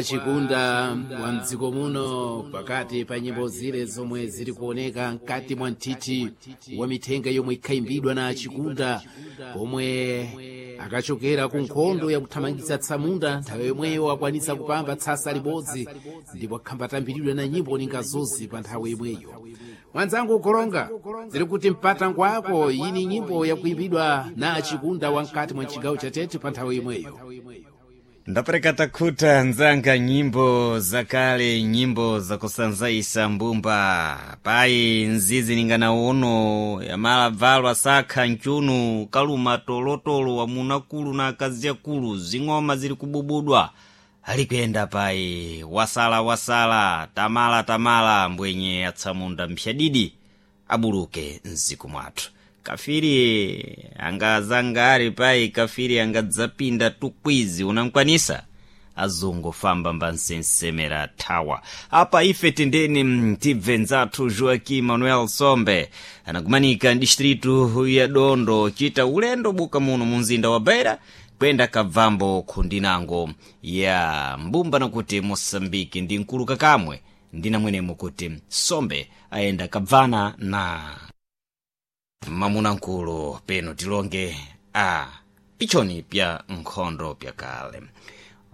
Chikunda wa mdziko muno pakati pa nyimbo zile zomwe zili kuoneka mkati mwa mthithi wa mithenga yomwe ikhaimbidwa na Chikunda pomwe akachokera ku nkhondo yakuthamangitsa tsamunda, nthawi yomweyo akwanisa kupamba tsasa libodzi ndipo akhambatambiridwa na nyimbo ninga zozi pa nthawi imweyo. Mwanzangu ukolonga zili kuti mpata ngwako ini nyimbo yakuimbidwa na Chikunda wa mkati mwa chigawo cha Tete pa nthawi imweyo. Ndapereka takhuta nzanga, nyimbo zakale, nyimbo zakusanzaisa mbumba payi nzizi ningana uno yamala bvalwa sakha nchunu kaluma tolotolo wamunakulu na akazi akulu, zing'oma zili kububudwa alikuyenda payi wasala wasala tamala tamala mbwenye atsamunda mphyadidi abuluke mziku mwathu kafiri angazanga ali payi kafiri angadzapinda tukwizi unankwanisa azungu famba mbansensemera thawa apa ife tendeni tibve nzathu Joaquim Manuel Sombe anakumanika distritu ya Dondo chita ulendo buka muno munzinda wa Beira kwenda kabvambo khundinango ya mbumba nakuti Moçambique ndi mkulu kakamwe ndinamwenemo kuti Sombe ayenda kabvana na mamunamkulu peno tilonge a pichoni pya nkhondo pyakale.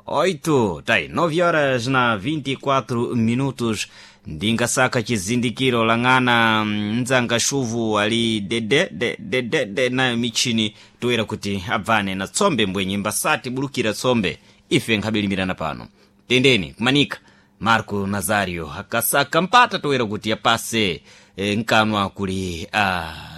8 tai 9 horas na 24 minutos, ndingasaka chizindikiro lang'ana mdzanga shuvu ali dede de dede de nayo michini toyera kuti abvane na tsombe mbwenye mbasati bulukira tsombe ife nkhabelimirana pano tendeni kumanika Marco Nazario akasaka mpata toyera kuti apase nkanwa kuli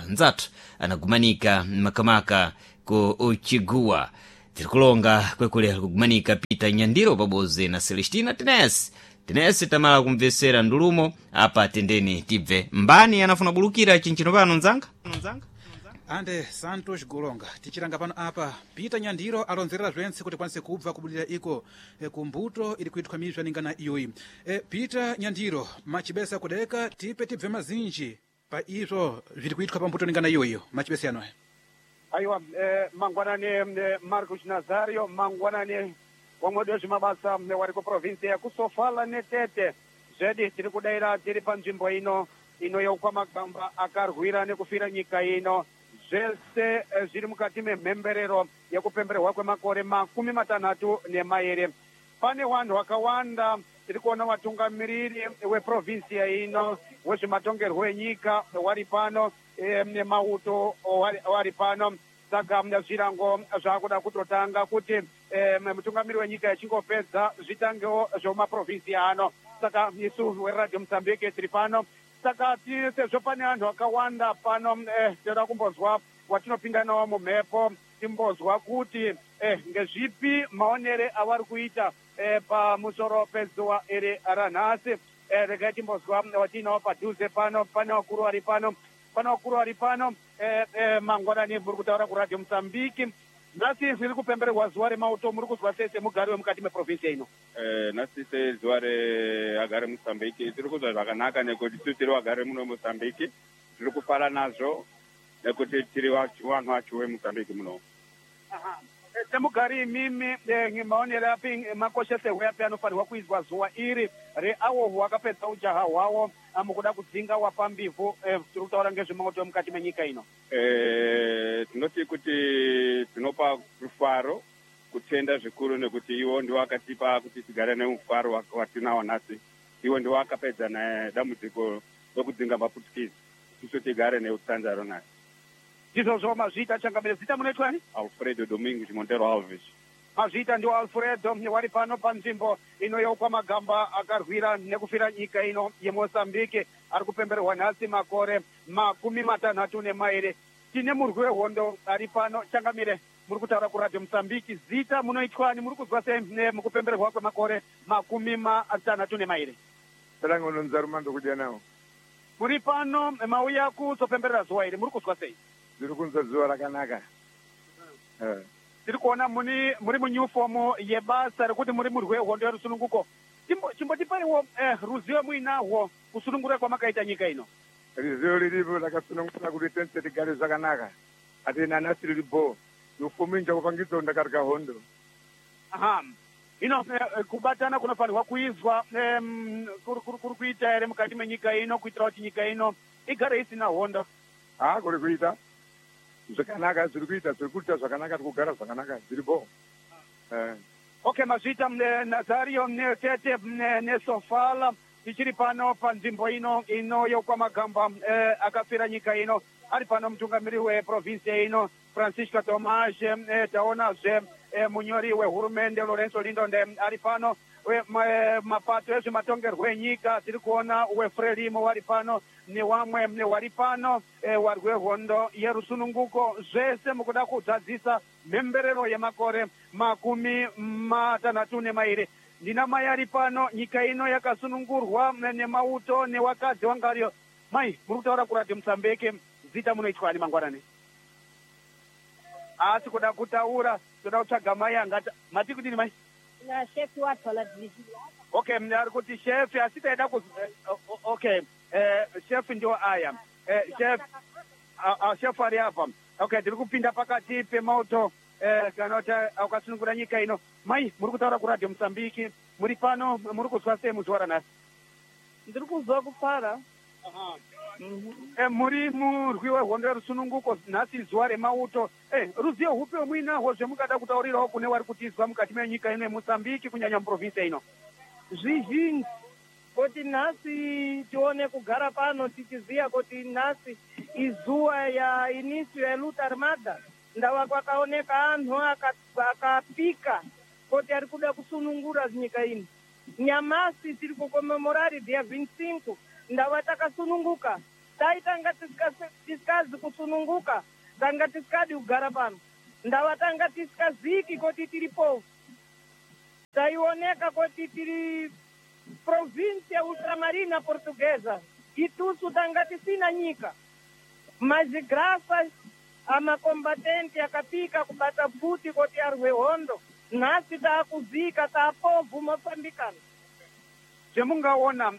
nzathu anagumanika makamaka ku Chiguwa tirikulonga kwekule kugumanika Peter Nyandiro pabodzi na Celestina Tenesi Tenesi tamala kumvesera ndulumo apa tendeni tibve mbani anafuna bulukira chinchino pano nzanga. Ande Santos Golonga tichilanga pano apa Peter Nyandiro alonzerera zwense kuti kwanise kubva kubudira iko kumbuto ili kuithwa mizwa ningana iyoyi. Peter Nyandiro machibesa kudeka tipe tibve mazinji pa izvo zviri kuithwa pa mbuto ningana iyoyiyo machibesa yanoya. Aiwa, mangwanani Marcos Nazario, mangwanani wamwedi wezvimabasa wari kuprovinsi yakusofala netete zvedi tiri kudaira tiri panzvimbo ino inoyeukwa magamba akarwira nekufira nyika ino zvese zviri mukati memhemberero yekupembererwa kwemakore 32. Pane vanhu vakawanda tiri kuona vatungamiriri weprovinsiya ino wezvematongerwo enyika wari pano, nemauto wari pano. Saka zvirango zvakuda kutotanga kuti mutungamiri wenyika echingopedza zvitangewo zvemumaprovinsiya ano. Saka isu weradio Mozambique tiri pano, saka sezvo pane anhu akawanda pano, toda kumbozwa watinopinda nawo mumhepo timbozwa kuti ngezvipi maonere avari kuita pamusoro pezuva iri ranhasi. Regai timbozwa watinawo padhuze pano. Pane vakuru vari pano, pane vakuru vari pano. Mangwanani, muri kutaura kuradio Mozambique. Nhasi riri kupembererwa zuva remauto, muri kuzwa sei semugari wemukati meprovinsi ino? Nhasi sezuva reagari Mozambique tiri kuzwa zvakanaka nekuti isu tiri vagari muno Mozambique tiri kufara nazvo nekuti tiri vanhu vacho veMozambique muno. Semugari imimi, maonero api, makoshesehwe api anofanirwa kuizwa zuva iri reawo hwakapedza ujaha hwawo mukuda kudzinga wapambivhu? Tiri kutaura ngezvemauto mukati menyika ino. Tinoti kuti tinopa rufaro kutenda zvikuru nekuti iwo ndiwo akatipa kuti tigare nemufaro watinawo nhasi. Iwo ndiwo akapedza nedambudziko rekudzinga maputukisi, tisu tigare neutsanzaro nhasi. Ndizvozvo, mazviita changamire. Zita munoitwani? Alfredo Domingos Montero Alves. Mazviita, ndiwo Alfredo wari pano panzvimbo inoyeukwa magamba akarwira nekufira nyika ino yeMozambique ari kupembererwa nhasi makore 32. Tine murwi wehondo ari pano. Changamire, muri kutaura kuradio Mozambique. Zita munoitwani? Muri kuzwa sei mukupembererwa kwemakore 62? Talangononzarumando kudya nawo. Muri pano mauya kuzopemberera zuva iri, muri kuzwa sei? Ndiri kunzwa zuva rakanaka. Tiri kuona muri munyufomu yebasa rekuti muri murwi wehondo yerusununguko. Chimbotipaiwo ruzivo muinahwo kusunungura kwamakaita nyika ino. Ruzivo riripo, rakasunungura kuti tense tigare zvakanaka, ati nanhasi riri bho yufomu inja kupangidza ndakarya hondo. Aha. Ino kubatana kunofanirwa kuizwa kuri kuita here mukati menyika ino kuitira kuti nyika ino igare isina hondo? Ha, kuri kuita zvakanaka, zviri kuita, zviri kuita zvakanaka, tiri kugara zvakanaka, zviripo. Okay, mazviita Nazario Tete neSofala. Tichiri pano panzvimbo ino yokwamagamba akafira nyika ino. Ari pano mutungamiri weprovinsi ino Francisco Tomas. Taonazve munyori wehurumende Lorenzo Lindonde ari pano. Mapato ezvematongerwo enyika tiri kuona weFrelimo wari pano newamwe wari pano, warwi wehondo yerusununguko, zvese mukuda kudzadzisa mhemberero yemakore 62. Ndina mai ari pano. Nyika ino yakasunungurwa nemauto newakadzi wangariyo. Mai, muri kutaura kuRadio Musambeke, zita munoitwani mangwanani? Asi kuda kutaura, toda kutsvaga mai angati mati kudini mai? Na shefi wathola division. Okay, ari kuti shefi, asi taida ku okay, shefi ndio aya. Chef, chef ari apa. Okay, tiri kupinda pakati pemauto kana kuti akasunungura nyika ino. Mai, muri kutaura kuRadio Musambiki, muri pano, muri kuzwa sei muzuva ranhasi? Ndiri kuzwa kufara. Muri murwi wehondo yerusununguko, nhasi zuva remauto. Ruzivo hupi muinahwo zvemungada kutaurirawo kune wari kutizwa mukati menyika ino yeMosambiki, kunyanya muprovinsi ino? Zvizhinji kuti nhasi tione kugara pano tichiziya kuti nhasi izuva ya início ya luta armada, ndawa kwakaoneka anhu akapika kuti ari kuda kusunungura nyika ino. Nyamasi tiri kukomemorari dia 25, ndawa takasununguka. Dai tanga tisikazi kusununguka, tanga tisikadi kugara pano, ndawa tanga tisikaziki kuti tiri povo. Taioneka kuti tiri província ultramarina portuguesa, itusu tanga tisina nyika, mas graças amacombatente akapika kubata pfuti kuti arwe hondo, nhasi taakuzika taapovhu moçambicano. Zvemungaona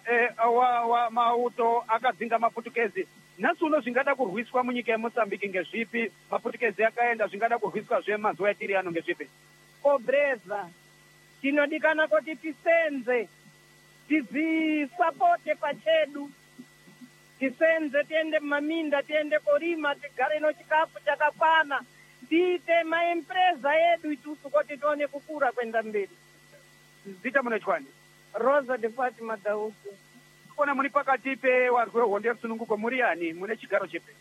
mauto akadzinga maputukezi, nhasi uno zvingada kurwiswa munyika yeMosambiki ngezvipi? Maputukezi akaenda, zvingada kurwiswa zvemazuva etiri ano ngezvipi? Pobreza. Tinodikana kuti tisenze, tizisapote pachedu, tisenze, tiende mumaminda, tiende korima, tigare nochikafu chakakwana, tiite maempresa edu itusu kuti tione kukura kwenda mberi. Zita munoitwani? Rosa de Fatima Dausi. Kona muri pakati pewarwi wehondo yerusununguko, muri yani, mune chigaro chipi?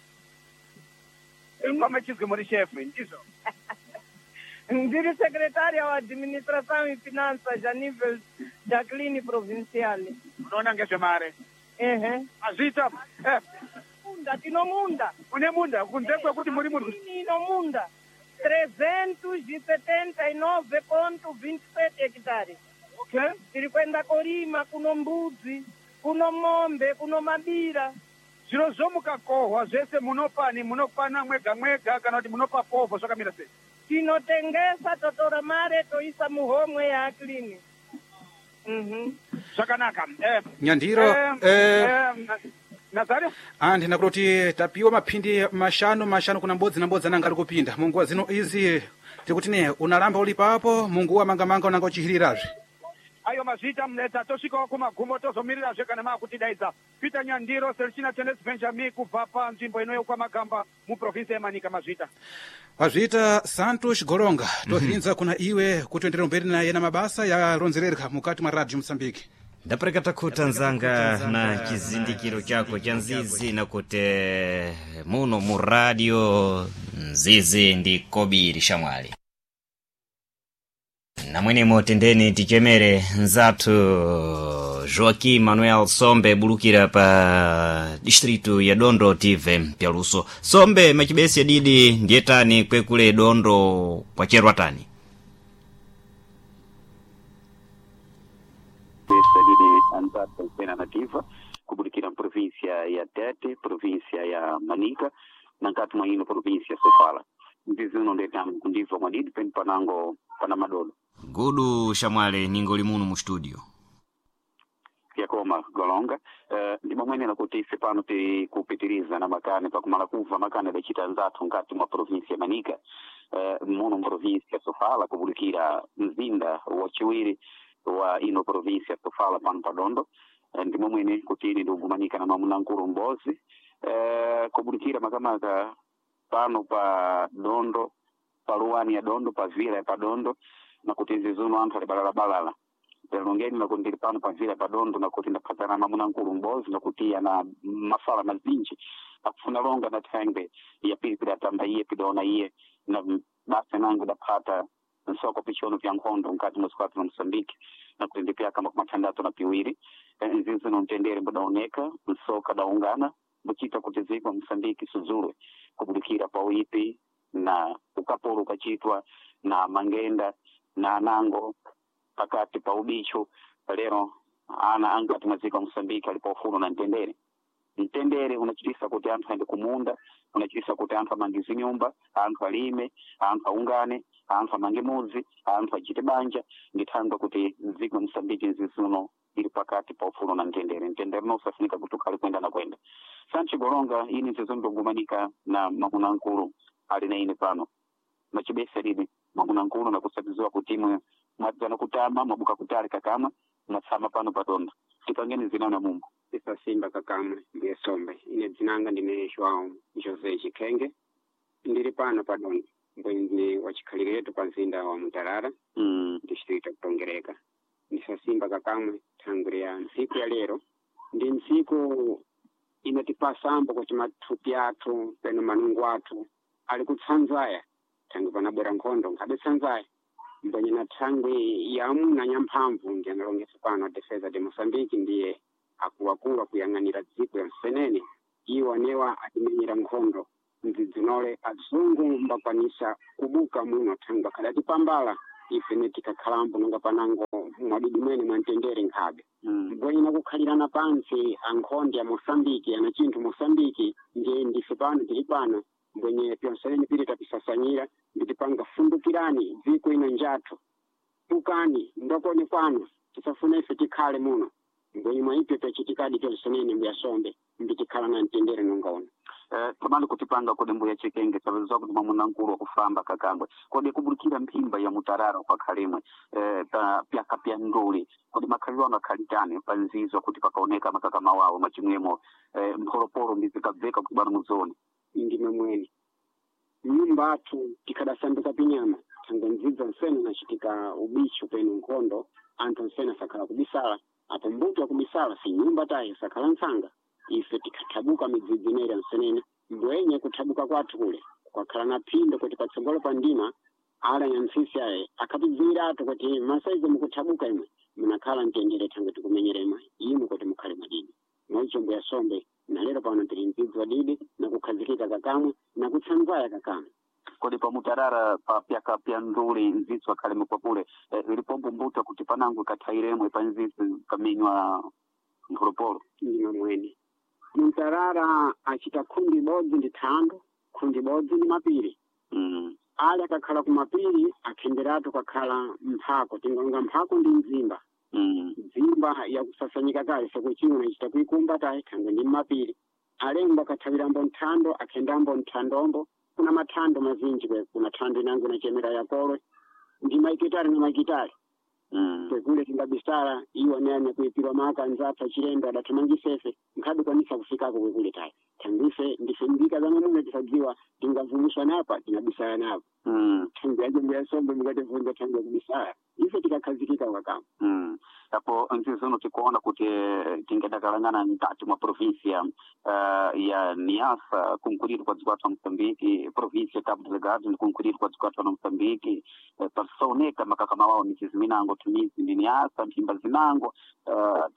Pamwe chizwi muri shefu, ndizvo? Ndiri secretária wa administração e finanças a nível da clínica provincial. Unoona ngezvemare? Ehe. Azviita. Munda, tino munda. Une munda kunze kwekuti muri munhu? Ino munda 379.27 hectares. Okay. Tiri kwenda korima, kuno mbudzi, kuno mombe, kuno mabira. Zviro zvomukakohwa zvese munopani, munopana mwega mwega kana kuti munopa povho, zvakamira sei? Tinotengesa, totora mare toisa muhomwe yaAklini. Zvakanaka. Nyandiro, Nazario. Andina kutoti tapiwa maphindi mashanu mashanu kuna mbodzi na mbodzi ananga ari kupinda munguwa zino izi, tikuti ne unalamba uli papo munguwa mangamanga unanga uchihirirazve. Ayo, mazviita mneta, tosvikawo kumagumo, tozomirirazve kana maakutidaidza. Peter Nyandiro, Serchina Tenes Benjamin, kubva panzvimbo ino yokwamagamba muprovinsi yeManika. Mazviita. Wazviita Santos Golonga, tohirinza kuna iwe kuti uenderere mberi naye na mabasa yaronzerereka mukati mwa Radio Mosambiki. Ndapereka takhuta nzanga na chizindikiro chako cha nzizi, nakuti muno mu radio nzizi ndi kobiri shamwali namwenemo. Tendeni tichemere nzathu Joaquim Manuel Sombe bulukira pa distritu ya Dondo tive pyaluso. Sombe, machibesi adidi ndiye tani kwekule Dondo kwacherwa tani? Anzathu pena nativa kubulikira província ya Tete, província ya Manica, nankati mwa ino província ya Sofala. Mzizi uno ndetamo kundibva mwadidi peni panango pana madolo. Gudu shamwale, ningoli muno mu studio. Yakoma Golonga. Ndimamwenera kuti ife pano tiri kupitiriza na makani pakumala kubva makani adacita anzathu nkati mwa província ya Manica. Muno província Sofala, kubulikira mzinda wa chiwiri wa ino província Sofala pano padondo. Ndimo mwene kuti ine ndikugumanika na mamunankulu mbozi kubulikira makamaka pano pa dondo, pa luwani ya dondo, pa vila ya padondo, na kuti nzizuno anthu ali balalabalala longeni, nakuti ndili pano pa vila ya padondo, nakuti ndaphatana mamunankulu mbozi, nakuti ana mafala mazinji akufuna longa na thangwe ya pili pidatamba iye pidaona iye na basa nangu daphata nsoko pichono pya nkhondo mkati mwa sikwati na Mosambiki, nakuti ndipyaka makumi athandatu na piwiri. Nzinzi no mtendere budaoneka, nsoka daungana buchita kuti ziko Mosambiki sudzulwe kubulikira pa uipi na ukapolo ukachitwa na mangenda na anango pakati pa ubicho. Lero ana angati mwaziko Mosambiki alipo na mtendere. Mtendere unachitisa kuti anthu aende kumunda, unachitisa kuti anthu amange nyumba, anthu alime, anthu aungane, anthu amange mudzi, anthu achite banja. Ndithangwa kuti dziko Mosambiki nzizuno ili pakati pa ufulu na mtendere. Mtendere usafunika kuti ukhale kwenda na kwenda. Sanchi Golonga, ini nzizo ndikugumanika na mamunankulu ali na ine pano machibesa lini mamunankulu, nakusabiziwa kuti imwe mwadzana kutama mwabuka kutali kakama mwatsama pano padondo, tipangeni zinana mumbo. Isasimba kakamwe ndiye sombe ine dzinanga ndine João José Chikenge, ndiri pano padondo mbwenzi wa chikhaliretu pa mzinda wa Mutarara, distrito kutongereka. Ndisasimba kakamwe thangwi ya ntsiku ya lero ndi ntsiku inatipasambo kuti mathupi athu peno manungu athu ali kutsanzaya thangwi panabwera nkhondo nkhabe tsanzaya mbwenye na thangwi ya amuna nyamphamvu ndi analongesa pano Defesa de Moçambique, ndiye akuluakulu akuyang'anira dziko ya msenene iwo anewa atimenyera nkhondo mdzidzinole azungu mbakwanisa kubuka muno thangwi akhadatipambala ife ne tikakhalambo nonga panango mwadidi mwene mwamtendere nkhabe. Mbwenye nakukhalirana pantsi ankhonde ya Moçambike ana chinthu Moçambike ndiye ndife pano tili pano mbwenye pyonsenene pili tapisasanyira nditipanga fundukirani dziko ino njathu tukani ndokoni kwanu tisafuna ife tikhale muno mbwenye mwaipyo pyachitikadi pyonsenene mbuyasombe mbitikhala na mtendere nonga uno. Tamali kutipanga kodi mbuya Chikenge sabizwa kuti mamunankulu wakufamba kakangwe kodi kubulikira mphimba ya Mutarara kwa khalimwe pa pyaka pya nduli kodi makhaliro ano akhalitani pa nzizo kuti pakaoneka makakama wawo machimwemo mpholopolo ndizikabveka kuti bwana muzoni. Ndime mwene nyumba athu tikhadasanduka pinyama thangwe nzidzo nsene nachitika ubicho peno nkhondo anthu nsene asakhala kubisala apo mbuto akubisala si nyumba tayi sakhala ntsanga ife tikhathabuka midzidzi ineri nsenene mbwenye kuthabuka kwathu kule kwakhala na phindo kuti patsogolo pa ndima ala nyantsisi aye akhatidziwiratu kuti masaizi mukuthabuka imwe munakhala mtendere thangwe tikumenyera imwe imwe kuti mukhale mwadidi mwaicho mbuya sombe na lero pano tili mdzidzi wadidi nakukhazikika kakamwe nakutsanzaya kakamwe. Kodi pa Mutarara pa pyaka pya nduli nzitsu akhale mukwapule ilipombo mbuto kuti panango kathairemwe pa nzitsu kamenywa mpholopolo. Ndima mwene Mutarara achita khundi ibodzi ndi thando, khundi ibodzi ndi mapiri. Ali akakhala kumapiri akhenderatu kakhala mphako tingalonga mphako ndi mzimba. Mzimba yakusasanyika kale sokuchiona ichita kuikumba tayi thangwe ndi mmapiri alembo akathawirambo nthando akhendambo nthandombo kuna mathando mazinji kwe kuna thando inango inachemera yakolwe ndi maikitali na maikitali. Kwekule tingabisala iwo anene kuipirwa maka anzathu achilendo adathamangisefe nkhabe kwanisa kufikako kwekule tayi thandife ndife mbika za mamuno tisadziwa tingavumuswa napa tingabisala napo. Thangwi yaje mbuyasombe mukativunza thangwi yakubisala ife tikakhazikika wakama. Apo nzizono tikuona kuti tingadakalangana mkati mwa província ya Niassa kunkuliro kwa dziko athu a Moçambique, província Cabo Delgado ndi kunkuliro kwa dziko athu a Moçambique, pasaoneka makakama wawo michizi minango timizi ndi Niassa mphimba zinango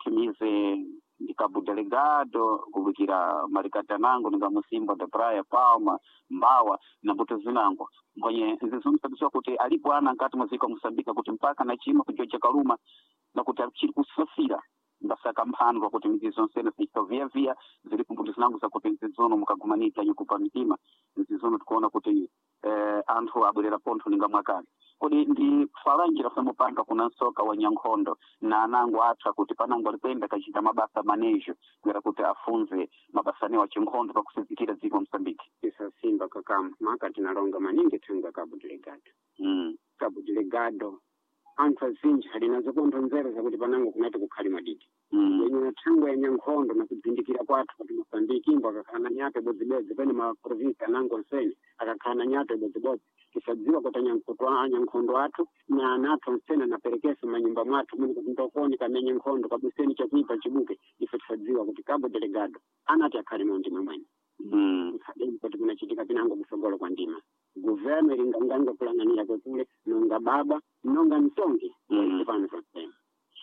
timizi ndi Cabo Delgado kubukira malikati anango ninga Musimba da Praia, Palma, Mbawa na mbuto zinango mbonye nzizomsabisiwa kuti alipo ana nkati mwa dziko a Moçambique kuti mpaka na chima kujoja kaluma na kuti achiri kusafira. Mbasaka mphandwa kuti midzi zonsene zichita via zilipo mbuto zinango zakuti mzizono mukagumanika nyukupa mitima mzizono tikuona kuti anthu abwerera pontho ninga mwakale. Kodi ndi falanjira famupanga kuna nsoka wa nyankhondo na anango atha kuti panango alipenda kachita mabasa manejo kuyera kuti afunze mabasa anewo achinkhondo pakusizikira dziko la Mosambiki. Tisasimba kakamu maka tinalonga maningi thanga Cabo Delgado. Cabo Delgado anthu azinji alinazo pontho nzeru zakuti panango kunati kukhali madidi. Yenye na thangwe ya nyankhondo na kudzindikira kwathu kuti Mosambiki imbo akakhala na nyato ibodzibodzi pene ma provinsi anango nsene akakhala na nyato ibodzibodzi tisadziwa kuti anyankhondo athu na ana athu nsene anaperekeso manyumba mwathu muni kuti ndokoni kamenye nkhondo kabuseni chakuipa chibuke. Ife tisadziwa kuti Cabo Delgado anati akhale mu ndima mwene. Adeni kuti kunachitika pinango kusogolo kwa ndima guverno ilinganganga kulang'anira kwekule nonga baba nonga mtongi pano pansene.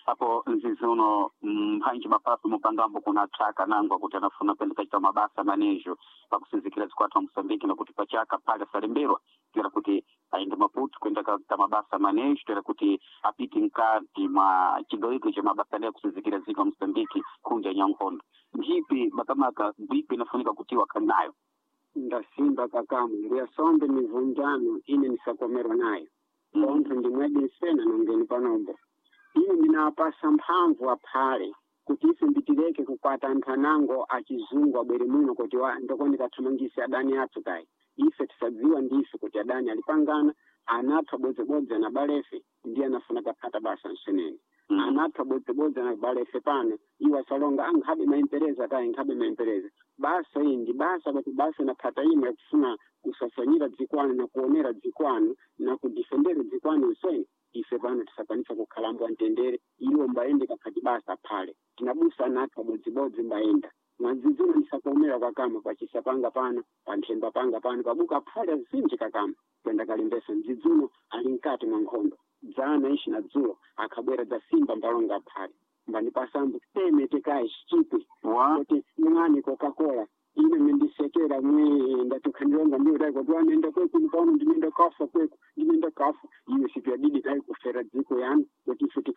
Apo nzizi uno mphanji mapaso mupangambo kuna tsaka nangwa kuti anafuna kwenda kachita mabasa manejo pakusizikira zikwathu wa Mosambiki nakuti pachaka pale asalemberwa toera kuti aende Maputo kwenda kachita mabasa manejo toera kuti apite mkati mwa chigawiko cha mabasa aleya kusizikira dziko la Mosambiki kunja nyankhondo ndipi makamaka bipi inafunika kuti wakhali nayo. Ndasimba kakamu mbuya sombe mivunjano ine nisakomerwa nayo pontho ndimwedi nsena nongeni panombo ine ndinapasa mphamvu aphale kuti ife mbitireke kukwata anthu anango achizungu abwere muno kuti ndokoni kathamangise adani athu kayi. Ife tisadziwa ndife kuti adani alipangana anathu abodzebodzi anabalefe ndiye anafuna kaphata basa nsenene. Anathu abodzebodzi anabalefe pano iwo asalonga ankhabe maimpereza kayi nkhabe maimpereza basa iyi ndi basa kuti basa inaphata imwe yakufuna kusasanyira dzikwano na kuonera dzikwano na kudifendera dzikwano nsene. Ife pano tisakwanisa kukhalambwa mtendere iwo mbayende kaphati basa phale tinabusa anathu abodzibodzi mbayenda mwadzidzino ndisakuomera kakama pachisa panga pano panthemba panga pano pabuka phale azinji kakama kwenda kalembesa mdzidzuno ali mkati mwa nkhondo dzana ishi na dzulo akhabwera dza simba mbalonga phale mbanipasambu teme tekayi chichipwi kuti mwani Coca-Cola ine mendisekera mwe ndatukhandilonga ndiyo dai kuti wanenda kweku ndikaona ndinenda kafa kweku ndinenda kafa iyo siku yadidi dai kufera dziko yanu kuti ife tikha.